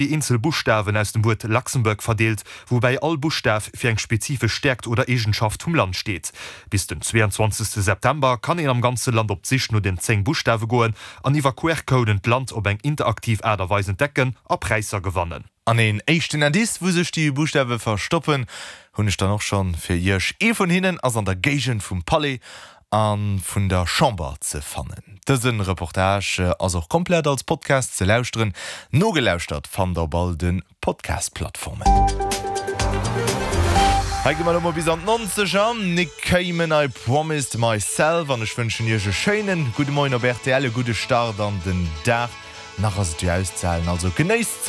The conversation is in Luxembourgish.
Déi eenzel Buschtawen aus dem Wuert Luxembourg verdeelt, woubäi all Buschtaf fir eng spezifesch Stäerkt oder Eegenschaft vum Land steet. Bis den 22 September kann een am ganze Land op d'Sich no den 10 Buschtawe goen an iwwer QR-Coden d'Land op eng interaktiv Aart a Weis entdecken a Präisser gewannen. An een éischten Indice, wou sech déi Buschtawe verstoppen, hunn ech dann och schonn fir iech. Ee vun hinnen ass an der Géigend vum Palais a vun der Chamber ze fannen. Dëse Reportage ass och komplett als Podcast ze lauschteren. Nogelauschtert fannt der op all de Podcast-Plattformen. Hei gi mer elo mol bis an d'Nonzeger. Nick Cayman, I Promised Myself. An ech wënschen iech e schéinen gudde Moien op rtl, e gudde Start an den Dag. Nach ass et jo auszehalen, also genéisst d'Sonn.